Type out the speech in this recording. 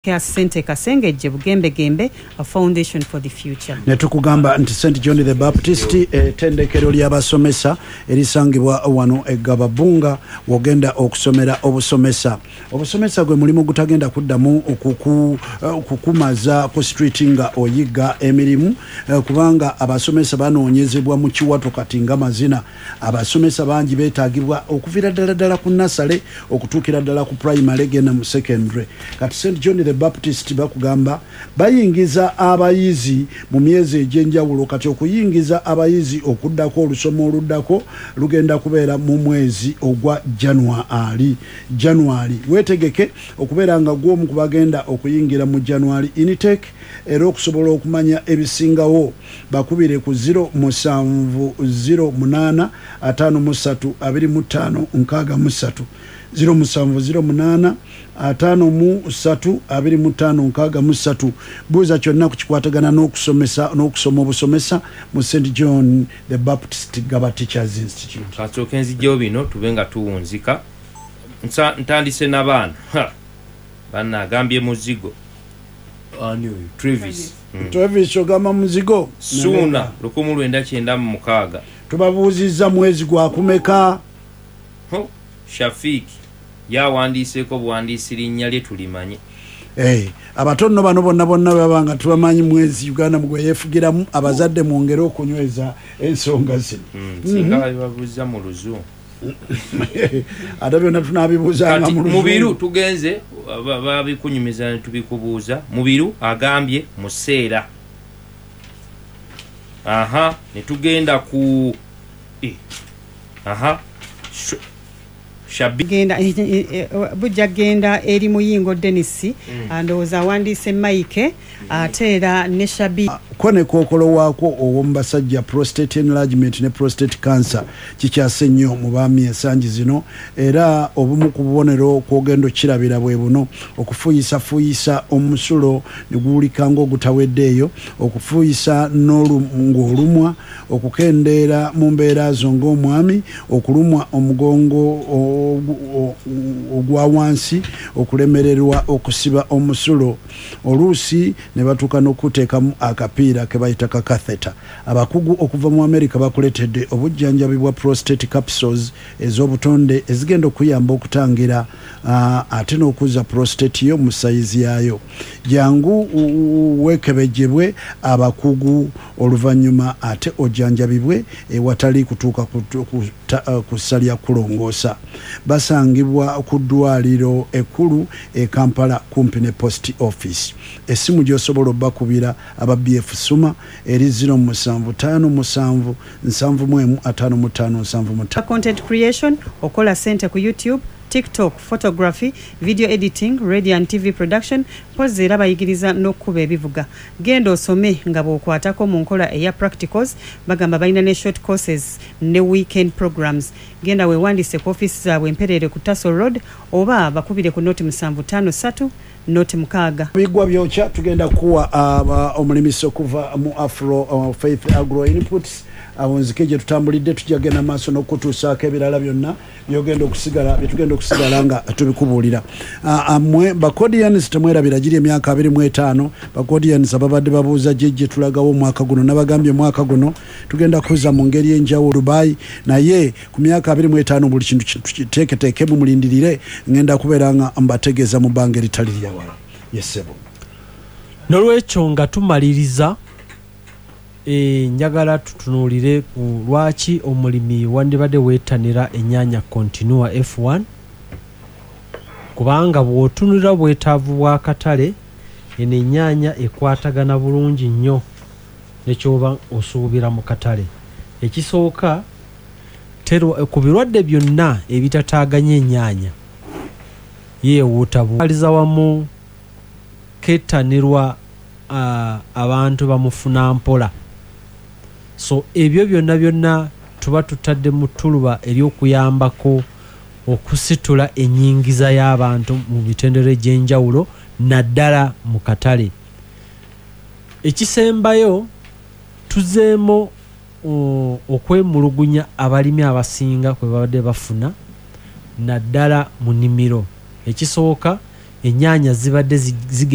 Care Centre Kasengejje Bugembegembe, a foundation for the future. Ne tukugamba nti St John the Baptist, ettendekero ly'abasomesa erisangibwa wano e Gababunga, wogenda okusomera obusomesa. Obusomesa gwe mulimu gutagenda kuddamu kukumaza ku street nga oyiga emirimu, kubanga abasomesa banoonyezebwa mu kiwato kati nga mazina. Abasomesa bangi beetaagibwa okuviira ddala ddala ku nursery okutuukira ddala ku primary, genda mu secondary. Kati St John the Baptist bakugamba bayingiza abayizi mu myezi egy'enjawulo. Kati okuyingiza abayizi okuddako, olusoma oluddako lugenda kubeera mu mwezi ogwa January. January weetegeke okubeera nga gw'omu ku bagenda okuyingira mu January intake. Era okusobola okumanya ebisingawo, bakubire ku 0708 53 25 63, 0708 53 25 63. Buuza kyonna ku kikwatagana n'okusomesa n'okusoma obusomesa mu St John the Baptist Gaba Teachers Institute. Kansooke nzijjewo bino tube nga tuwunzika. Ntandise n'abaana. Ha! Banna agambye muzigo. Ani oyo? Travis. Travis, ogamba muzigo. Suuna 1996. Tubabuuzizza mwezi gwakumeka? Ho, Shafiiki ye awandiiseeko buwandiisi linnya lye tulimanye. Abato nno bano bonna bonna baba nga tubamanyi mwezi Uganda mugwe yeefugiramu. Abazadde mwongere okunyweza ensonga zino. Singa babibabuuza mu Luzungu. Ate byonna tunaabibuuzanga Kati mu Mubiru Luzungu. Tugenze babikunyumiza ne tubikubuuza. Mubiru agambye museera. Aha, ne tugenda ku aha. Shabi. Genda bujja genda eri Muyingo Denis. Ndowooza awandiise Mike, ate era ne Shabi. Ko ne kookolo waakwo ow'omu basajja, prostate enlargement ne prostate cancer, kikyase nnyo mu baami ensangi zino. Era obumu ku bubonero kwogenda okukirabira bwe buno: okufuuyisafuuyisa omusulo ne guwulika ng'ogutaweddeeyo, okufuuyisa ng'olumwa, okukendeera mu mbeera zo ng'omwami, okulumwa omugongo ogwa wansi, okulemererwa okusiba omusulo, oluusi ne batuuka n'okuteekamu akapiira ke bayita ka catheter. Abakugu okuva mu America bakuleetedde obujjanjabi bwa prostate capsules ez'obutonde ezigenda okuyamba okutangira ate n'okuzza prostate yo mu sayizi yaayo. Jangu weekebejjebwe abakugu, oluvannyuma ate ojjanjabibwe ewatali kutuuka ku ssa lya kulongoosa. Basangibwa ku ddwaliro ekkulu e Kampala, kumpi ne post office. Essimu gy'osobola obbakubira aba BF Suma eri 0757 71 55 75. Content creation, okola sente ku YouTube, TikTok, photography, video editing, radio and TV production. Mpozi era bayigiriza n'okkuba ebivuga. Genda osome nga bw'okwatako mu nkola eya practicals. Bagamba balina ne short courses ne weekend programs. Genda weewandiise ku ofiisi zaabwe Empereere ku Tasso Road, oba bakubire ku 0753 06. Bigwa byokya. Tugenda kuwa omulimisi okuva mu Afro Faith Agro Inputs. Awo nzike gye tutambulidde, tujja genda maaso n'okutuusaako ebirala byonna byogenda okusigala byetugenda okusigala nga tubikubuulira. Mwe Bacodians, temwerabira giri emyaka 25. Bacodians ababadde babuuza gye tulagawo omwaka guno, nabagambye omwaka guno tugenda kuza mu ngeri enjawulo Dubai, naye ku myaka 25 buli kintu kiteeketeekemu, mulindirire, ngenda kubeera nga mbategeeza mu bbanga eritali lyawala. Yesebo. Nolwekyo nga tumaliriza, njagala tutunuulire ku lwaki omulimi wandibadde weetanira ennyaanya Continua F1, kubanga bw'otunulira obwetaavu bw'akatale, eno ennyaanya ekwatagana bulungi nnyo nekyoba osuubira mu katale. Ekisooka, ku birwadde byonna ebitataaganya ennyaanya yeewuuta aliza wamu kettanirwa abantu bamufuna mpola. So ebyo byonna byonna tuba tutadde mu ttuluba ery'okuyambako okusitula ennyingiza y'abantu mu mitendera egy'enjawulo, naddala mu katale. Ekisembayo, tuzeemu okwemulugunya abalimi abasinga kwe babadde bafuna, naddala mu nnimiro. Ekisooka, ennyaanya zibadde zige